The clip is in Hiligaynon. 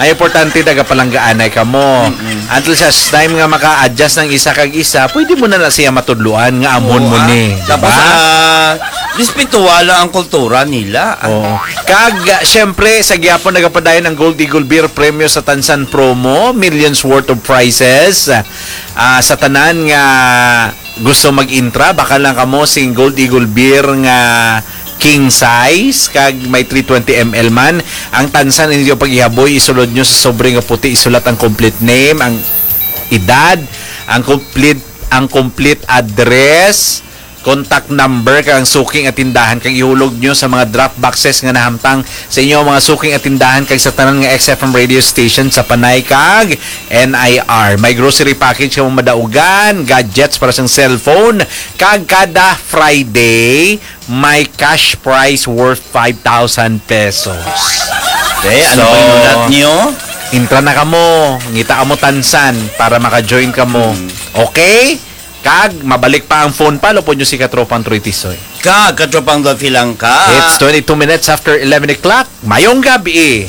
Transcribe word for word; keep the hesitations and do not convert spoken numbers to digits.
Ang importante, nagapalanggaanay kamo. Until such time nga maka-adjust ng isa kag isa, pwede mo na na siya matudloan nga amon Oo, mo ah. ni, di Tapos, ba? ah, respetuha lang ang kultura nila. Ah, Oo. Kag, ah, syempre, sa gihapon nagapadayon ang Gold Eagle Beer Premyo sa Tansan Promo, millions worth of prizes. Ah, sa tanan nga gusto mag-intra, baka lang kamo sing Gold Eagle Beer nga king size, kag may three twenty M L man. Ang tansan ninyo paghihaboy, isulod nyo sa sobre nga puti, isulat ang complete name, ang edad, ang complete, ang complete address, contact number, kag ang suking at tindahan, kag ihulog nyo sa mga drop boxes nga nahamtang sa inyo mga suking at tindahan, kag sa tanan nga X F M radio station sa Panay kag N I R. May grocery package kamo madaugan, gadgets para sa cellphone, kag kada Friday, may cash prize worth five thousand pesos. Eh, ano So, ba inulat nyo? Intra na kamo, ngita kamo tansan para maka-join kamo. Hmm. Okay? Kag mabalik pa ang phone pa, lupod nyo si Katropang Troy Tisoy. Kag Katropang Dolphy lang ka. It's twenty-two minutes after eleven o'clock. Mayong gabi.